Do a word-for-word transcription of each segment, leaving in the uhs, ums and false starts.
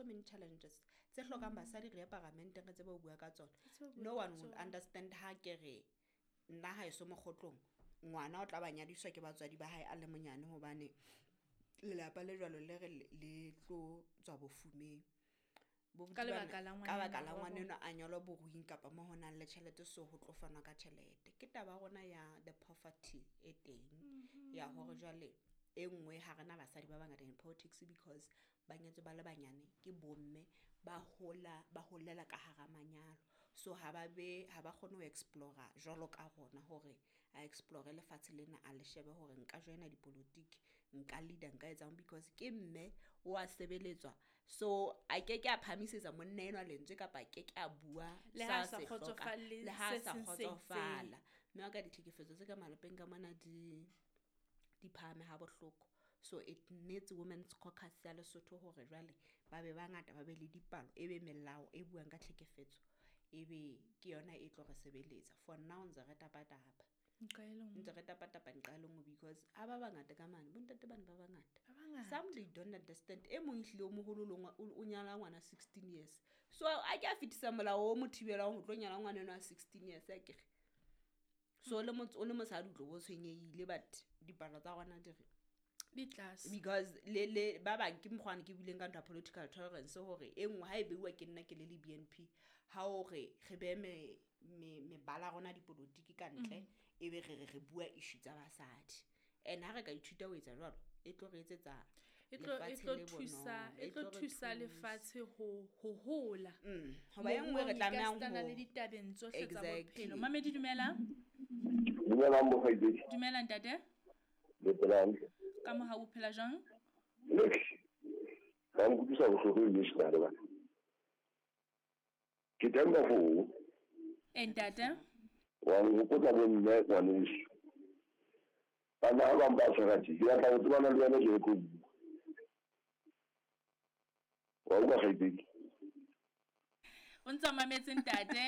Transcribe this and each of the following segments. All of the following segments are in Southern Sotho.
so many challenges tse hlokang basadi re ye paramenteng re tsebe ho bua ka tsona. Tsebe ho bua No ka one will tsona. understand ha ke re nna haeso mokgotlong ngwana o tla ba nyadiswa ke batswadi ba hae a le monyane hobane lelapa le jwalo le re le le tlo tswa bofumeng. Bo Ka buti bana- lebaka la ka baka la ngwanenwa wa bona. ngwanenwa a nyalwa boruing kapa mo ho nang le tjhelete, so ho tlo fanwa ka tjhelete. Ke taba ya rona ya the poverty e teng ya hore jwale e nngwe ha rena basadi ba bangata in politics because ba nyetswe ba le banyane ke bomme ba hola ba holela ka hara manyalo, so ha ba be ha ba kgone ho explore jwalo ka rona hore a explore lefatshe lena a le shebe hore nka joina dipolotiki, nka leader, nka etsang because ke mme o a sebeletswa, so a ke ke a phahamisetsa monna enwa lentswe kapa a ke ke a bua Le sa ha a sa se hlokang, kgotsofalle le ha a se sa seng se itseng. kgotsofala. Mme wa ka ditlhekefetso tse ka malapeng ka mona di di phahame ha bohloko, so it needs women's caucus ya Lesotho hore jwale ba be bangata, ba be le dipalo, e be melao e buang ka tlhekefetso, e be ke yona e tlo re sebeletsa. For now ntse re tapatapa, Nqa e le nngwe. ntse re tapatapa nqa e le nngwe because ha ba bangata ka mane, bontate bane ba bangata. Ba bangata. Some they don't understand. E mong ehlile o moholo le ngwa- o o nyala ngwana sixteen years, so a ke a fetisa molao o mo thibelang ho tlo nyala ngwana enwa wa sixteen years akere. So o le motse- o le mosadi o tlo bo tshwenyehile, but dipalo tsa rona di re Di tlase. because le le ba bang ke mokgwane ke buileng ka ntho ya political tolerance hore e nngwe ha e beuwa ke nna ke le le B N P ha o re re behe me me mebala ya rona dipolotiki ka ntle, e be re re re bua issue tsa basadi, and ha re ka ithuta ho etsa jwalo e tlo re etsetsa E tlo e lefatshe tlo le thusa bonolo, e e tlo tlo re thusa thusa. Lefatshe ho ho hola. Mm, hoba e nngwe re Moruong tlamehang ekasitana ho le ditabeng tsohle tsa Exactly. bophelo. Mamedi, dumela. Dumelang bokgaitsedi. Dumela, ntate. Le phela hantle? Ka mohau, o phela jwang? Lehle. Ba nkutlwisa bohloko ebile tjena le bana. Ke teng ka foo. E, ntate. Wa nhopotsa bomme ngwaneso. Bana ba bang ba tshwara tje. Ke batla ho tsebana le wena ke re tlo bua. Wa utlwa, kgaitsedi? O ntse o mametse, ntate.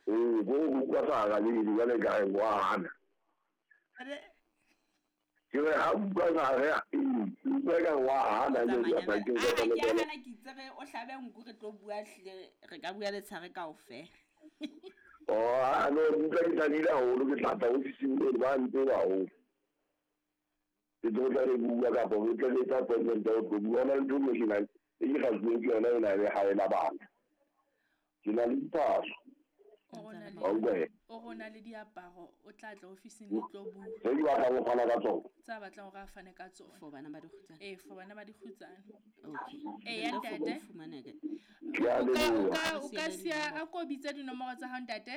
Ee, bo o utlwa sa arabele jwale ka re wa hana. Ke re ha utlwa sa re ee, utlwa ka re wa hana jwale Tsamaya ke ba- ke Ah, ke ke a hana, ke itse re o hlabe nku re tlo bua hlile re ka bua letshehare kaofela. Oh, ah, no, ke utlwa ke thabile haholo, ke tla tla ofising eno ba ntseba haholo. Ke tlo tla re bua kapa re tle re etsa appointment ya ho tlo bua. Hona le ntho e nngwe tjena e ke kgahluweng ke yona ena ya lehae la bana. Ke na le diphahlo. O re o na le Wa utlwa he? O re o na le diaparo, o tla tla ofising le tlo bua. Tse ke batlang ho fana ka tsona. Tsa batlang hore a fane ka tsona. For bana ba dikgutsana. Ee, for bana ba dikgutsana. Okay. Ee, ya Then therefore, ntate. o fumane ke- Ke a O ka o leboha. ka o ka Re siya siele a ko bitse dinomoro tsa hao, ntate.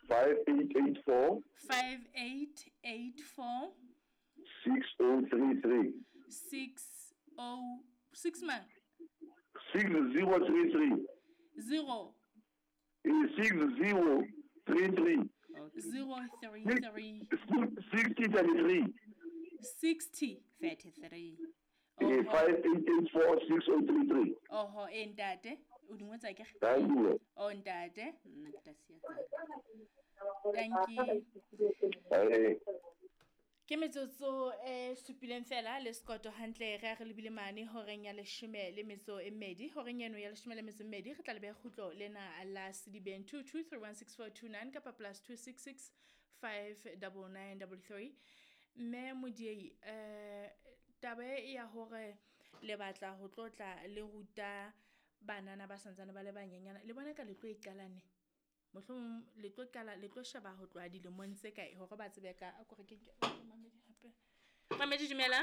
Five eight eight four Five eight eight four six oh three three six oh six mang? six zero three three. Zero Ee, six zero three three. Okay. zero three three. Sixty thirty three. Sixty. Thirty-three. Ee, Oho. five eight eight four six oh three three. Oho, e ntate. O di ngotse akere? Thank you. O ntate. Nna ke tla siya tsaka. Thank you. Ee. Ke metsotso e supileng fela le sekoto hantle re a re lebile mane horeng ya leshome le metso e mmedi. Horeng eno ya leshome le metso e mmedi re tla lebe kgutlo lena la Sedibeng, two two three one six four two nine kapa plus two six six five double nine double three. Mme Modiei, eh taba e ya hore le batla ho tlotla le ruta banana ba santsane ba le banyenyana, le bona ka le tlo e qala neng? Mohlomong le tlo qala le tlo sheba ho tloha dilemong tse kae hore ba tsebe ka a kore ke ke mamedi hape. Mamedi, dumela.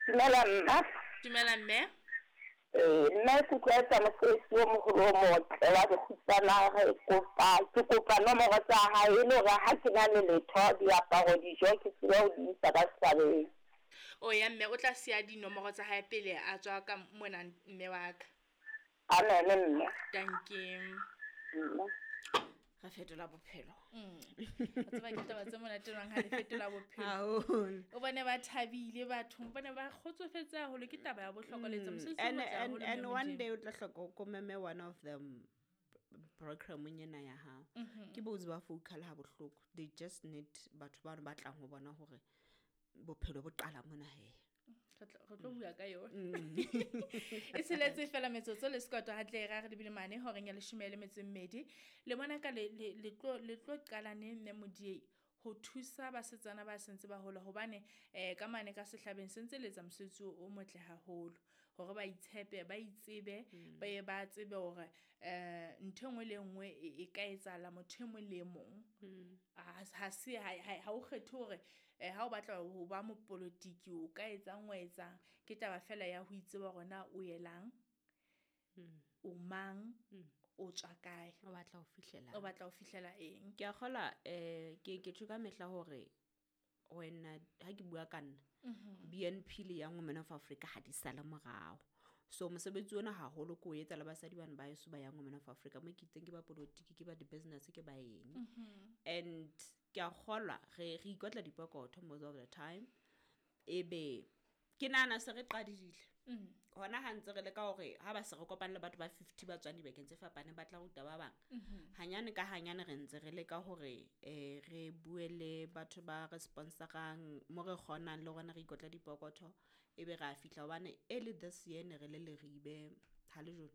Dumela, mma. Dumela, mme. Ee, nna ke utlwa mosebetsi o moholo o motle wa dikgutsana. Re kopa ke kopa nomoro tsa hae e le hore ha ke na le letho, diaparo, dijo, ke tsebe ho di isa ka setjhabeng. O ya mme o tla siya dinomoro tsa hae pele a tswa ka mona, mme wa ka. Amen, mme. Dankie. Mme. Re fetola bophelo. Mm. Wa tseba ke taba tse monate jwang ha le fetola bophelo. Haholo. O bone ba thabile batho, o bone ba kgotsofetse haholo, ke taba ya bohlokwa le etsa mosebetsi o and motle and haholo, and mme one Modimo. day o tla hloka o komeme one of them programmeng ena ya hao. Ke botse ba vocal ha bohloko, they just need batho bano ba tlang ho bona hore bophelo bo qala mona he. Re tlo bua ka yona. E seletse fela metsotso le sekoto hantle ra re lebile mane horeng ya leshome le metso e mmedi. Le bona ka le le tlo le tlo qala neng mme Modiei ho thusa basetsana ba sentse ba hola hobane eh ka mane ka sehlabeng sentse le etsa mosebetsi o motle haholo hore ba itshepe ba itsebe ba ye ba tsebe hore eh ntho e nngwe le nngwe e ka etsahala motho e mong le e mong. Ha se ha o kgethe hore ha o batla ho ba mopolotiki o ka etsang wa etsang ke taba fela ya ho itseba hore na o yelang o mang o tswa kae o batla ho fihlela o batla ho fihlela eng. Ke a kgola eh ke ke tjho ka mehla hore wena ha ke bua ka nna B N P le Young Women of Africa ha di sale morao. So mosebetsi ona haholo ko etsa le basadi bana ba heso ba Young Women of Africa mo ke itseng ke ba politiki ke ba di business ke ba eng. And ke a kgolwa re re ikotla dipokotho most of the time ebe ke nahana se re qadile hona ha ntse re le ka hore ha ba se re kopane le batho ba fifty ba tswang dibakeng tse fapaneng ba tla ruta ba bang hanyane ka hanyane re ntse re leka hore eh re bue le batho ba re sponsorang mo re kgonang le rona re ikotla dipokotho ebe ra fihla hobane early this year ne re le Leribe ha le jone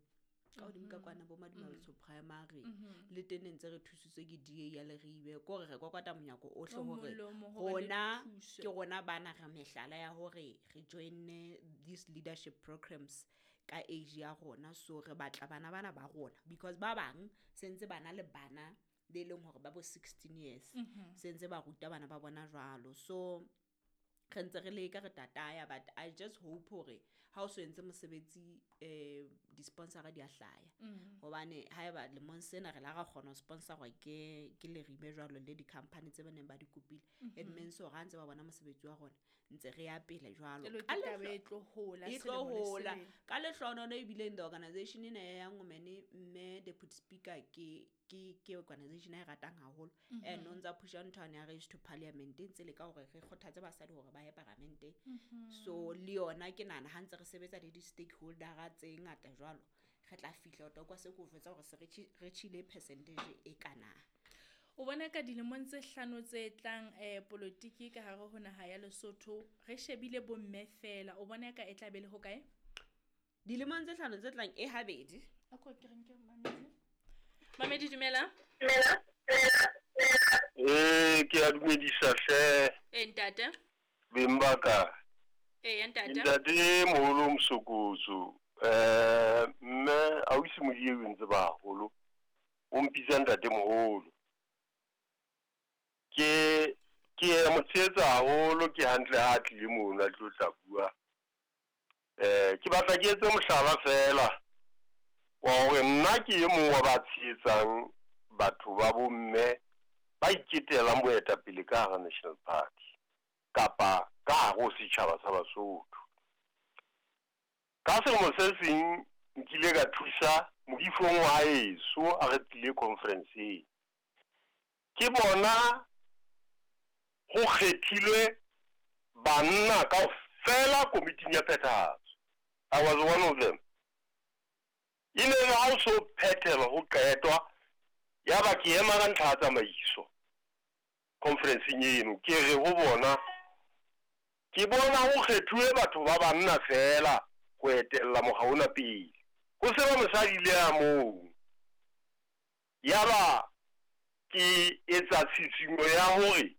ka hodimo ka kwana bo Madimatsho Primary le teng ne ntse re thusitswe ke D A ya Leribe ko re re kokota monyako ohle hore rona ke rona bana re mehlala ya hore re join these leadership programs ka age ya rona so re batla bana bana ba rona because ba bang sentse bana le bana le leng hore ba bo sixteen years sentse ba ruta bana ba bona jwalo so re ntse re leka re tataya but I just hope hore ha o so entse mosebetsi eh di-sponsor di a hlaya hobane haeba lemong sena re la ra kgona ho sponsorwa ke ke Leribe jwalo le di-company tse baneng ba di kopile it means hore ha ntse ba bona mosebetsi wa rona ntse re ya pele jwalo ka e tlo hola e tlo hola ka lehlohono ebile in the organization ena ya Young Women mme deputy speaker ke ke ke organization e ratang haholo and o ntsa pusha ntho ya raise to parliament ntse le ka hore re kgothatse basadi hore ba ye parlamenteng so le yona ke nahana ha ntse re sebetsa le di-stakeholder tse ngata jwalo re tla fihla ho kwa se ko jwetsa hore se re tjhile percentage e kana. O bona ka dilemong tse hlano tse tlang eh politiki ka hare ho naha ya Lesotho re shebile bomme fela o bona ka e tla be le ho kae dilemong tse hlano tse tlang e habedi a ko ke re nke mamedi Mamedi dumela. Dumela. Eh ke a dumedisa hle. Eh ntate. Beng ba ka. Eh ntate. Ntate moholo Mosokotso. Eh mme ausi Modiei o ntse ba haholo. O mpitsa ntate moholo. Ke ke mo tshetsa haholo ke hantle ha tlile mono a tlo tla bua. Eh ke batla ke etse mohlala fela. Wa hore nna ke e mong wa ba tshehetsang batho ba bomme ba iketelang boetapele ka hara National Party kapa ka hare ho setjhaba sa Basotho. Ka selemo se seng nkile ka thusa modifong wa heso a re tlile conference-eng. Ke bona ho kgethilwe banna kaofela komiting ya phethahatso. I was one of them. E ne le ha o so phethelwa ho qetwa ya ba ke ema ka ntlha ya tsamaiso conference-eng eno ke re ho bona ke bona ho kgethuwe batho ba banna fela ho etella mokga ona pele ho se ba mosadi le ya mong. Ya ba ke etsa tshisinyo ya hore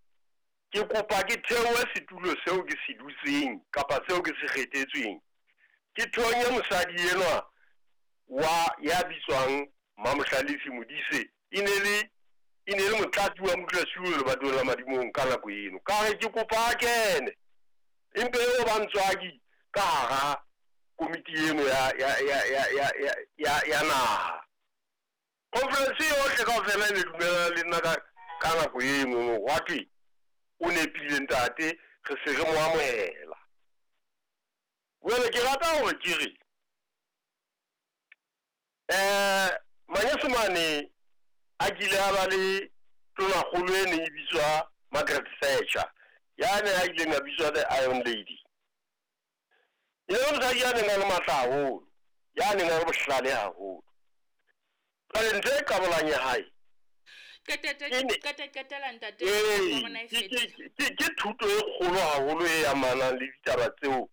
ke kopa ke theohe setulo seo ke se dutseng kapa seo ke se kgethetsweng ke thonye mosadi enwa wa ya bitswang Mamohlalefi Modise e ne le e ne le motlatsi wa modulasetulo lebatoweng la Madimong ka nako eno ka re ke kopa a kene empe eo ba ntswaki ka hara komiti eno ya ya ya ya ya ya ya naha. Conference yohle kaofela e ne dumellana le nna ka ka nako eno hwa thwe o nepile ntate re se re mo amohela. Jwale ke rata hore ke re eh Manyesemane a kile a ba le tonakgolo e neng e bitswa Margaret Thatcher ya ne a ileng a bitswa the Iron Lady. E ne le mosadi ya neng a le matla haholo ya neng a le bohlale haholo. Jwale ntho e qabolang ya hae ke thuto e kgolo haholo e amanang le ditaba tseo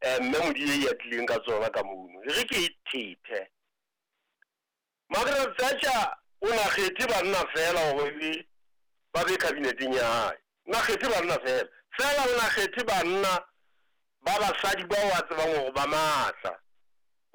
eh mme Modiei a tlileng ka tsona ka mono. E re ke e thethe. Margaret Thatcher o na kgethe banna fela hore be ba be kabineteng ya hae. Na kgethe banna fela. Fela o na kgethe banna ba basadi bao a tsebang hore ba matla.